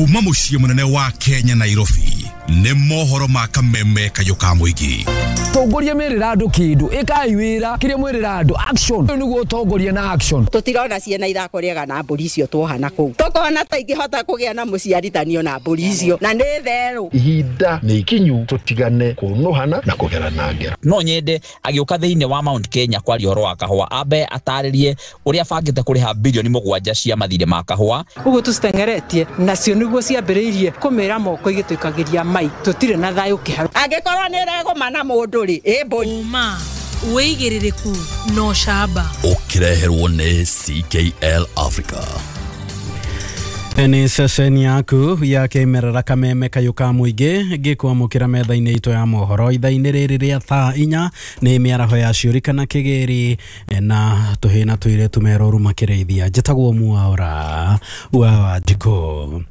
Kuma mũciĩ mũnene wa Kenya Nairobi nĩ mohoro ma kameme kayũ ka mũingĩ. Tongoria merĩra andũ kĩndũ ĩkai wĩra kĩrĩa mwĩrĩra andũ action nĩguo ũtongoria na action. Tũtirona ciana ithako rĩega na mbũri icio tuohana kũu tũkona ta ingĩhota kũgĩa na mũciarithanio na mbũri icio na nĩ therũ. Ihinda nĩ ikinyu tũtigane kũnũhana na kũgerana ngero. No nyende agĩũka thĩinĩ wa Mount Kenya kwaria ũhoro wa kahũa ambe atarĩrie ũrĩa abangĩte kũrĩha bilioni 7 cia mathirĩ ma kahũa. Ũguo tũciteng'eretie nacio nĩguo ciambĩrĩirie kũmĩra moko igĩtũikagĩria mai tũtirĩ na thayũ kĩharo. Angĩkorwo nĩ ĩregũma na mũndũ rĩ ĩ mbũri. Ũma wĩigĩrĩrĩku na ũcamba ũkĩreherwo nĩ CKL Africa. Nĩ ceceni yaku ya kĩmerera kameme kayũ ka mũingĩ ngĩkwamũkĩra metha-inĩ itũ ya mohoro ithaa-inĩ rĩrĩ rĩa thaa 4 nĩ mĩaraho ya ciũri kana kĩgĩri na tũhĩ na tũirĩtu meroru makĩrĩithia. Njĩtagwo Mwaura wa Wanjikũ.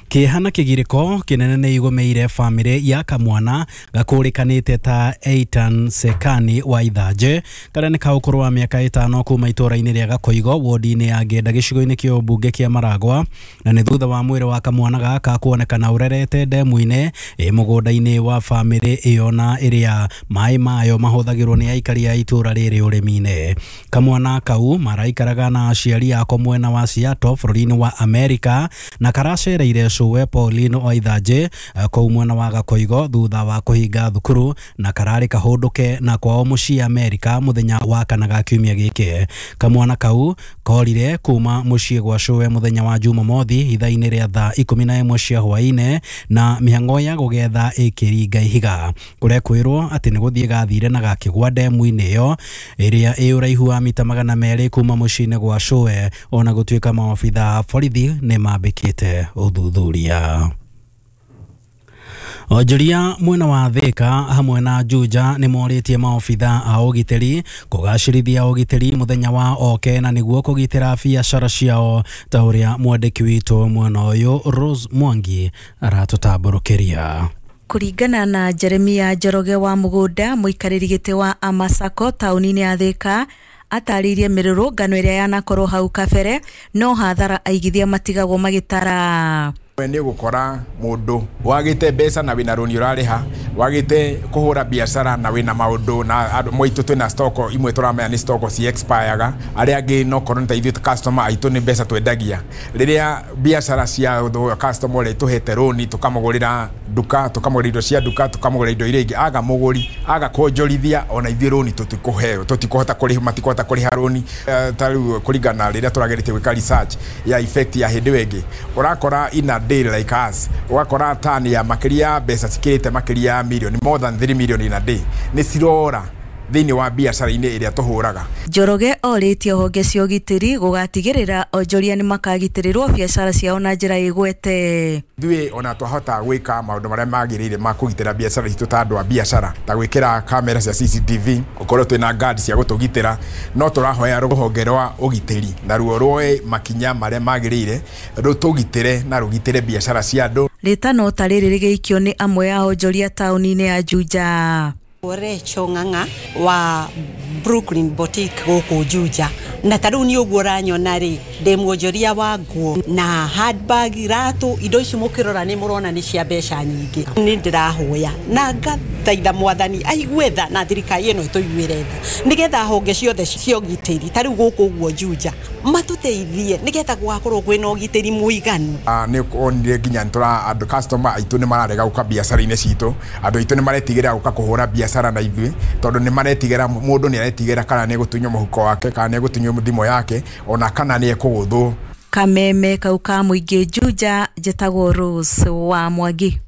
Kĩeha na kĩgirĩko kĩnene nĩ igũmĩire bamĩrĩ ya kamwana gakũrĩkanĩte ta Eitan Sekani wa Ithanje karĩa nĩ ka ũkũrũ wa mĩaka 5 kuma itũũra-inĩ rĩa Gakoigo wodi-inĩ ya Ngenda gĩcigo-inĩ kĩa ũmbunge kĩa Maragwa, na nĩ thutha wa mwĩrĩ wa kamwana gaka kuonekana ũrerete ndemu-inĩ ĩ mũgũnda-inĩ wa bamĩrĩ ĩyo na ĩrĩa maĩ mayo mahũthagĩrwo nĩ aikari a itũũra rĩrĩ ũrĩmi-inĩ. Kamwana kau maraikaraga na aciari ako mwena wa Seattle bũrũri-inĩ wa Amerika na karacereire cũwe Pauline wa Ithanje kũu mwena wa Gakoigo thutha wa kũhinga thukuru na kararĩ kahũndũke na kwao mũciĩ Amerika mũthenya wa kana ga kiumia gĩkĩ. Kamwana kau korire kuma mũciĩ gwa cũwe mũthenya wa Jumamothi ithaa-inĩ rĩa thaa 11 cia hwaĩ-inĩ na mĩhang'o ya gũgetha ĩkĩringa ihiga. Kũrekwĩrwo atĩ nĩ gũthiĩ gathire na gakĩgwa ndemu-inĩ ĩyo ĩrĩa ĩ ũraihu wa mita 200 kuma mũciĩ-inĩ gwa cũwe, ona gũtuĩka maobitha a borithi nĩ mambĩkĩte ũthuthuria. Onjoria mwena wa Thika hamwe na Juja nĩ morĩtie maobitha a ũgitĩri kũgacĩrithia ũgitĩri mũthenya wa oke na nĩguo kũgitĩra biacara ciao ta ũrĩa mwandĩki witũ mwena ũyũ Rose Mwangi aratũtambũrũkĩria. Kũringana na Jeremia Njoroge wa Mũgũnda, mũikarĩri gĩtĩ wa Amasako taũni-inĩ ya Thika, atarĩirie mĩrũrũngano ĩrĩa yanakorwo hau kabere no hathara aigithia matigagwo magĩtara. Nĩ gũkora mũndũ wagĩte mbeca na wĩna rũni ũrarĩha, wagĩte kũhũra biacara na wĩna maũndũ na andũ moitũ twĩna stock imwe tũramenya nĩ stock ci expireaga, arĩa angĩ no korwo nĩ ta ithuĩ customer aitũ nĩ mbeca twendagia. Rĩrĩa biacara cia customer ũrĩa tũhete rũni tũkamũgũrĩra nduka, tũkamũgũrĩra indo cia nduka, tũkamũgũrĩra indo iria ingĩ, aga mũgũri aga kuonjorithia, ona ithuĩ rũni tũtikũheo, tũtikũhota kũrĩha, matikũhota kũrĩha rũni. Ta rĩu kũringana rĩrĩa tũrageretie gwĩka research ya effect ya hĩndĩ ĩyo ĩngĩ, ũrakora ina day like us ũgakora tani ya makĩria mbeca cikĩrĩte makĩria ya milioni more than 3 million in a day nĩ cirora thĩinĩ wa biacara-inĩ ĩrĩa tũhũraga. Njoroge orĩtie honge cia ũgitĩri gũgatigĩrĩra onjoria nĩ makagitĩrĩrwo biacara ciao na njĩra ĩgwete. Ithuĩ ona twahota gwĩka maũndũ marĩa magĩrĩire ma kũgitĩra biacara citũ ta andũ a biacara, ta gwĩkĩra kamera cia CCTV, ũkorwo twĩna guard cia gũtũgitĩra, no tũrahoya rũhonge rwa ũgitĩri naruo rwoe makinya marĩa magĩrĩire rũtũgitĩre na rũgitĩre biacara cia andũ. Rĩtano ta rĩrĩ rĩgĩikio nĩ amwe a onjoria taũni-inĩ ya Juja. Recho Ng'ang'a wa Brooklyn Boutique gũkũ Juja, na ta rĩu nĩ ũguo ũranyona rĩ, ndĩ mwonjoria wa nguo na handbag, iratũ, indo ici mũkĩrora nĩ mũrona nĩ cia mbeca nyingĩ. Nĩ ndĩrahoya na ngathaitha mwathani aigue tha na thirikari ĩno ĩtũiguĩre tha, nĩgetha honge ciothe cia ũgitĩri ta rĩu gũkũ ũguo Juja matũteithie nĩgetha gũgakorwo kwĩna ũgitĩri mũiganu. Nĩ onire nginya nĩ andũ customer aitũ nĩ mararega gũka biacara-inĩ citũ, andũ aitũ nĩ maretigĩra gũka kũhũra biacara na ithuĩ tondũ nĩ maretigĩra, mũndũ nĩ aretigĩra kana nĩ egũtunywo mũhuko wake kana nĩ egũtunywo thimũ yake ona kana nĩ ekũgũthwo. Kameme kau ka mũingĩ Juja, njĩtagwo Rose wa Mwangi.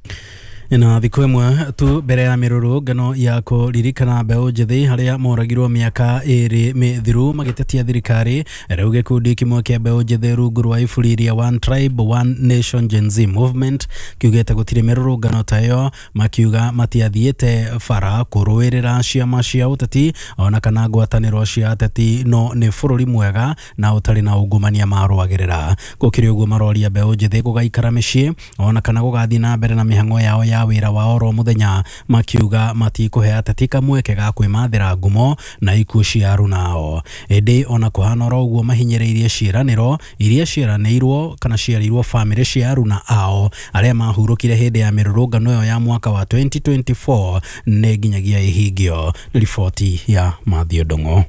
Na thikũ ĩmwe tu mbere ya mĩrũrũngano ya kũririkana mbeũ njĩthĩ harĩa moragirwo mĩaka 2 mĩthiru magĩtetia thirikari, rĩu gĩkundi kĩmwe kĩa mbeũ njĩthĩ rungu rwa iburi rĩa One Tribe One Nation Gen Z Movement kiugĩte gũtirĩ mĩrũrũngano ta ĩyo, makiuga matiathiĩte bara kũrũĩrĩra ciama cia ũteti ona kana ngwatanĩro cia ateti, no nĩ bũrũri mwega na ũtarĩ na ungumania marũagĩrĩra. Gũkĩrĩ ũguo maroria mbeũ njĩthĩ gũgaikara mĩciĩ ona kana gũgathiĩ na mbere na mĩhang'o yao ya ya wĩra wa oro mũthenya makiuga matikũhe ateti kamweke ga kwĩmathĩra ngumo na ikuũ cia arunao. Ĩndĩ ona kũhana oro ũguo mahinyĩrĩirie ciĩranĩro iria ciĩranĩirwo kana ciarĩirwo bamĩrĩ cia aruna ao arĩa mahurũkire hĩndĩ ya mĩrũrũngano ĩyo ya mwaka wa 2024 nĩ nginyagia ihingio. Nĩ riboti ya Matthew Ndung'u.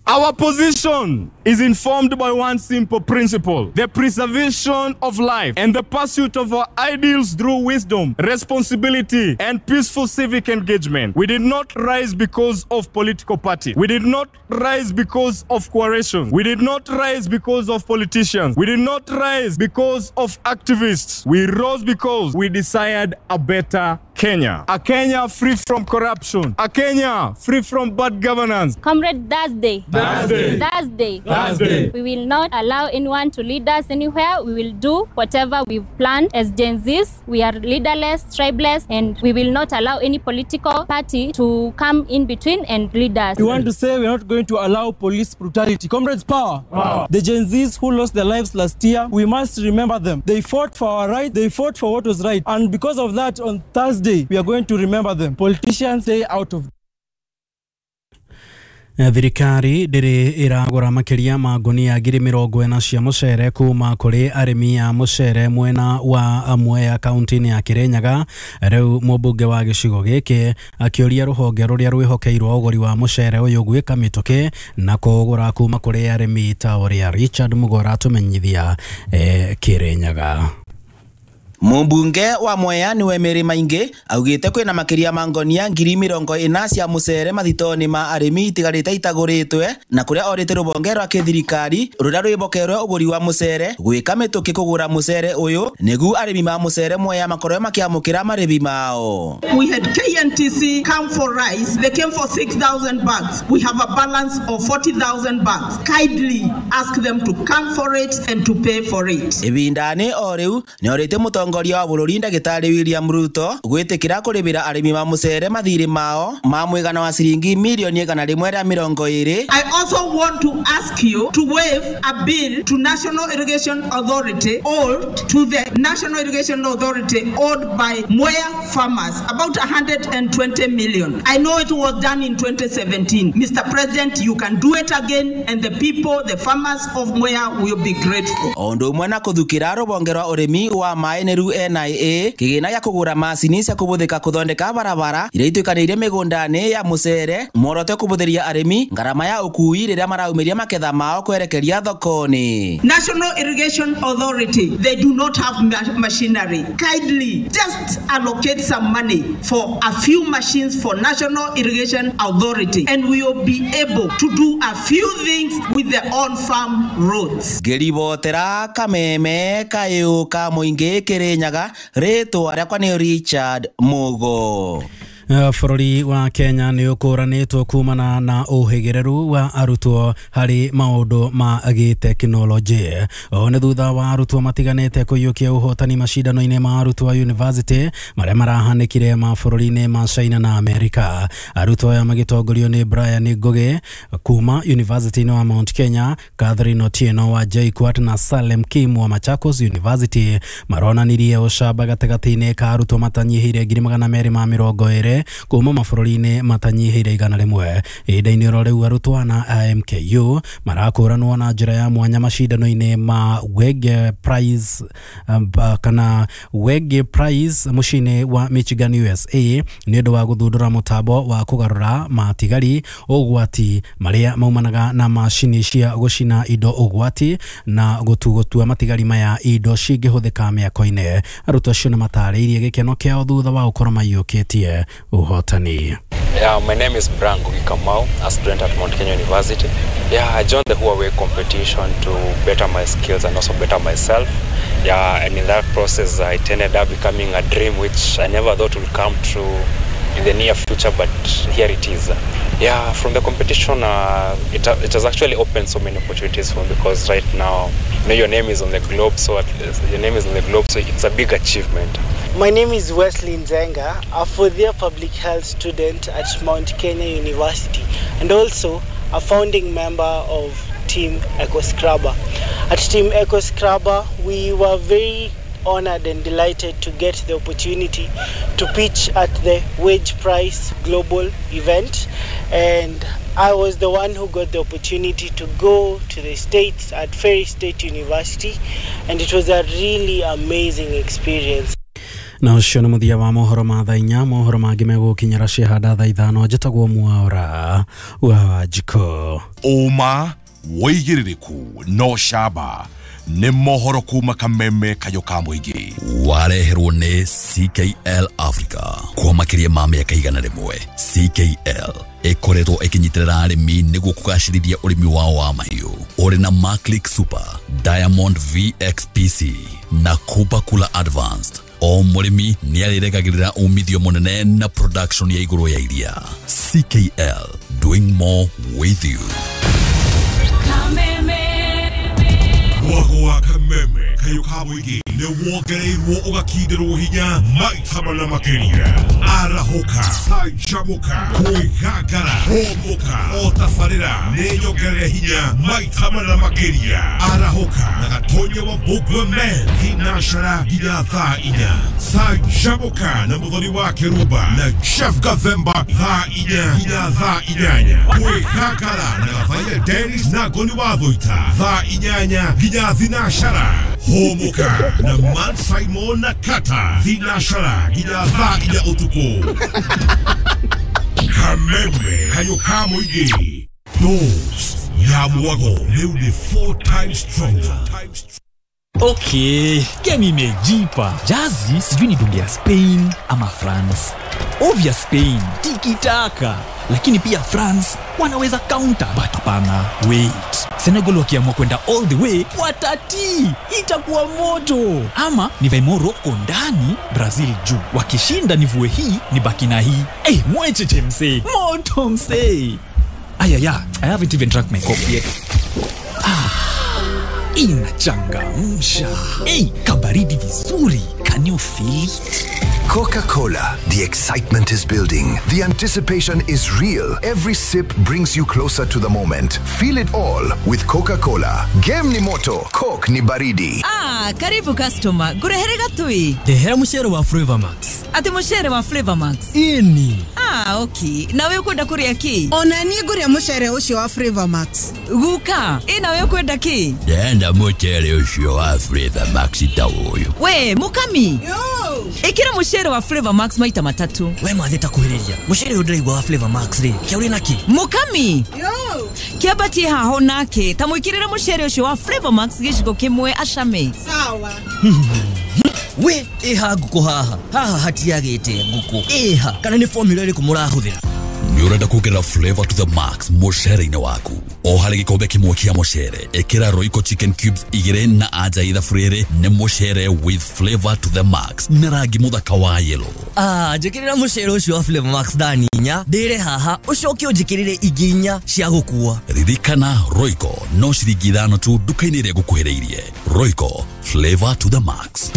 Our position is informed by one simple principle: the preservation of life and the pursuit of our ideals through wisdom, responsibility, and peaceful civic engagement. We did not rise because of political party. We did not rise because of coalition. We did not rise because of politicians. We did not rise because of activists. We rose because we desired a better Kenya. A Kenya free from corruption. A Kenya free from bad governance. Comrade Thursday. Thursday. Thursday. Thursday. We will not allow anyone to lead us anywhere. We will do whatever we've planned as Gen Zs. We are leaderless, tribeless, and we will not allow any political party to come in between and lead us. We want to say we're not going to allow police brutality. Comrades, power. Power. The Gen Zs who lost their lives last year, we must remember them. They fought for our right. They fought for what was right. And because of that, on Thursday, we are going to remember them. Politicians, stay out of. Thirikari ndĩrĩ ĩragũra makĩria ma ngunia 40,000 cia mũcere kuma kũrĩ arĩmi a mũcere mwena wa Mwea kaunti-inĩ ya Kirinyaga. Rĩu mũmbunge wa gĩcigo gĩkĩ akĩũria rũhonge rũrĩa rwĩhokeirwo ũgũri wa mũcere ũyũ gwĩka mĩtũkĩ na kũũgũra kuma kũrĩ arĩmi ta ũrĩa Richard Mugora atũmenyithia Kirinyaga. Mumbunge wa Mwea niwe Mary Maingi augite kwina makiria ma ngonia 40,000 cia mucere mathitoni ma arimi itigarite itaguritwe na kuria orite rubonge rwa kithirikari ruria rwibokerwe uguri wa mucere gwika mituki kugura mucere uyu nigu arimi ma mucere Mwea makorwe makiamukira maribi mao. We had KNTC come for rice. They came for 6,000 bags. We have a balance of 40,000 bags. Kindly ask them to come for it and to pay for it. Ibindani o riu ni orite mutongoria wa bururi ndagitari William Ruto gwitikira kuribira arimi ma mucere mathiri mao ma mwigana wa ciringi milioni 120. I also want to ask you to waive a bill to National Irrigation Authority owed to the National Irrigation Authority owed by Mwea farmers, about 120 million. I know it was done in 2017. Mr. President, you can do it again and the people, the farmers of Mwea will be grateful. Ondu umwe na kuthukira rubonge rwa urimi wa maĩ nĩru NIA kĩgĩna gĩa kũgũra macini cia kũbũthĩka kũthondeka barabara iria ituĩkanĩirie mĩgũnda-inĩ ya mũcere muoroto kũbũthĩria arĩmi ngarama ya ũkui rĩrĩa maraumĩria maketha mao kwerekeria thoko-inĩ. National Irrigation Authority, they do not have machinery. Kindly just allocate some money for a few machines for National Irrigation Authority and we will be able to do a few things with the on-farm roads. Ngĩribotera Kameme kayũ ka mũingĩ Kirinyaga, rĩtwa rĩakwa nĩ Richard Mugo. Bũrũri wa Kenya nĩ ũkũranĩtwo kumana na ũhĩgĩrĩru wa arutwo harĩ maũndũ ma gĩtekinoronjĩ. Ũũ nĩ thutha wa arutwo matiganĩte kũiyũkia ũhotani macindano-inĩ ma arutwo a university marĩa marahanĩkire mabũrũri-inĩ ma China na Amerika. Arutwo aya magĩtongorio nĩ Brian Ngugi kuma University-inĩ wa Mount Kenya, Catherine Otieno wa JKUAT na Salem Kim wa Machakos University maronanirie ũcamba gatagatĩ-inĩ ka arutwo matanyihĩire 220 kuma mabũrũri-inĩ matanyihĩire 100. Ihinda-inĩ oro rĩu arutwo na MKU marakũranwo na njĩra ya mwanya macindano-inĩ ma Wege Prize kana Wege Prize mũciĩ-inĩ wa Michigan USA nĩ ũndũ wa gũthundũra mũtambo wa kũgarũra matigari ũgwati marĩa maumanaga na macini cia gũcina indo ũgwati na gũtua matigari maya indo cingĩhũthĩka mĩako-inĩ. Arutwo acio nĩ matarĩirie gĩkeno kĩao thutha wa gũkorwo maiyũkĩtie ũhotani. Yeah, my name is Brian Ngugi Kamau, a student at Mount Kenya University. Yeah, I joined the Huawei competition to better my skills and also better myself. Yeah, and in that process, it ended up becoming a dream which I never thought would come true in the near future, but here it is. Yeah, from the competition, it has actually opened so many opportunities for me because right now, you know, your name is on the globe, so your name is on the globe, so it's a big achievement. My name is Wesley Nzenga, a fourth-year public health student at Mount Kenya University and also a founding member of Team EcoScrubber. At Team EcoScrubber, we were very honored and delighted to get the opportunity to pitch at the Wage Price Global event, and I was the one who got the opportunity to go to the States at Ferry State University, and it was a really amazing experience. Na ũcio nĩ mũthia wa mohoro ma thaa inya. Mohoro mangĩ megũkinyĩra ciahanda thaa ithano. Njĩtagwo Mwaura wa Wanjikũ. Ũma wĩigĩrĩrĩku no camba nĩ mohoro kuma kameme kayũ ka mũingĩ. Wareherwo nĩ CKL Africa kwa makĩria ma mĩaka 100. CKL ĩkoretwo ĩkĩnyitĩrĩra arĩmi nĩguo kũgacĩrithia ũrĩmi wao wa mahiũ. Ũrĩ na Maclick Super, Diamond VXPC na Cooper Cooler Advanced. O mũrĩmi nĩ arĩregagĩrĩra umithio mũnene na production ya igũrũ ya iria. CKL, doing more with you. Mwago wa kameme kayũ ka mũingĩ nĩ wongereirwo ũgakindĩrwo hinya maita mana makĩria. Arahũka, canjamũka, kwĩgangara, hũmũka, o tabarĩra nĩ nyongerere hinya maita mana makĩria. Arahũka na Gatonya wa Mbũgua Men thinacara nginya thaa inya. Canjamũka na Mũthoni wa Kĩrumba na Jeff Gathemba thaa inya nginya thaa inyanya. Kwĩgangara na Gathaiya Dennis na Ngoni wa Thũita thaa inyanya nginya thinacara. Hũmũka na Man Simon na Kata thinacara nginya thaa inya ũtukũ. Kameme kayũ ka mũingĩ. Dose ya mwago rĩu nĩ 4 times stronger. Okay, game imejipa. Jazi sijui ni dunge ya Spain ama France. Ovya Spain, tiki-taka. Lakini pia France wanaweza counter, but hapana, wait. Senegal wakiamua kwenda all the way, watati. Itakuwa moto. Ama nivae Morocco ndani, Brazil juu. Wakishinda nivue hii, nibaki na hii. Eh, mwecheche msee. Moto msee. Ayaya, I haven't even drank my coffee yet. Inachangamsha. Hey, kabaridi vizuri. Can you feel it? Coca-Cola. The excitement is building. The anticipation is real. Every sip brings you closer to the moment. Feel it all with Coca-Cola. Game ni moto, Coke ni baridi. Ah, karibu customer. Ngurehere gatui. Ndehera mucere wa Flavor Max. Ati mucere wa Flavor Max? Ini. Ah, okay. Nawe ukwenda kuria ki? Ona ni nguria mucere ucio wa Flavor Max. Guka, nawe ukwenda ki? Ndenda mucere ucio wa Flavor Max ta uyu. We, mukami. Yo. Ikira mucere wa Flavor Max maita matatu. We mathe ta kuhiriria. Mucere ndiraigua wa Flavor Max ri. Kia uri naki? Mukami. Yo. Kiambatie haho nake. Ta mwikirira mucere ucio wa Flavor Max giciko kimwe acame. Sawa. We, iha nguku haha. Haha hatiagite nguku. Iha, kana ni formula iriku murahuthira? Nĩ ũrenda kuongerera flavor to the max mũcere-inĩ waku. O harĩ gĩkombe kĩmwe kĩa mũcere, ĩkĩra Royco chicken cubes 2 na anja ithabu rĩrĩ nĩ mũcere with flavor to the max na rangi mũthaka wa yellow. Ah, njĩkĩrĩra mũcere ũcio wa Flavor Max thani inya, ndĩre haha, ũcoke ũnjĩkĩrĩre ingĩ inya cia gũkua. Ririkana Royco no ciringi 5 tu nduka-inĩ ĩrĩa ĩgũkuhĩrĩirie. Royco, flavor to the max.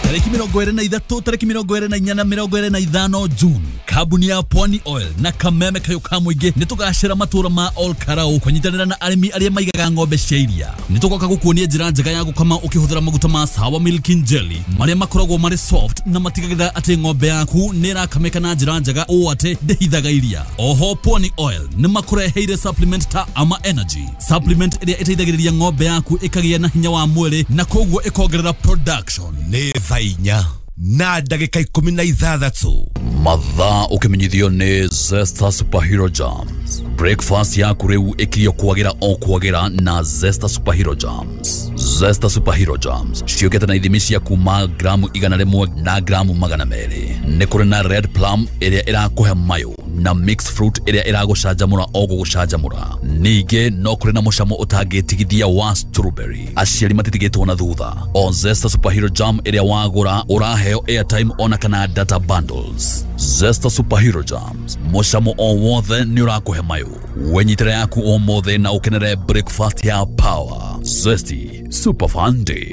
Tarĩki 23, tarĩki 24 na 25 June, kambuni ya Pwani Oil na kameme kayũ ka mũingĩ nĩ tũgacĩra matũra ma Ol Karau kũnyitanĩra na arĩmi arĩa maigaga ng'ombe cia iria. Nĩ tũgoka gũkuonia njĩra njega ya gũkama ũkĩhũthĩra maguta ma Sawa Milking Jelly marĩa makoragwo marĩ soft na matigagĩrĩra atĩ ng'ombe yaku nĩ ĩrakamĩka na njĩra njega ũũ atĩ ndĩhithaga iria. Oho Pwani Oil nĩ makũreheire supplement ta Ama Energy, supplement ĩrĩa ĩteithagĩrĩria ng'ombe yaku ĩkagĩa na hinya wa mwĩrĩ na koguo ĩkongerera production. Nĩ thaa inya na ndagĩka 16. Mathaa ũkĩmenyithio nĩ Zesta Superhero Jams. Breakfast yaku rĩu ĩkirio kwagĩra o kwagĩra na Zesta Superhero Jams. Zesta Superhero Jams ciũkĩte na ithimi cia kuma gramu 100 na gramu 200. Nĩ kũrĩ na red plum ĩrĩa ĩrakũhe mayũ na mixed fruit ĩrĩa ĩragũcanjamũra o gũgũcanjamũra. Ningĩ no kũrĩ na mũcamo ũtangĩtigithia wa strawberry. Aciari matitigĩtwo na thutha. O Zesta Superhero Jam ĩrĩa wagũra ũraheo airtime ona kana data bundles. Zesta Superhero Jams, mũcamo o wothe nĩ ũrakũhe mayũ. Wenyitĩra yaku ũmũthĩ na ũkenere breakfast ya power. Zesty Super Fun Day.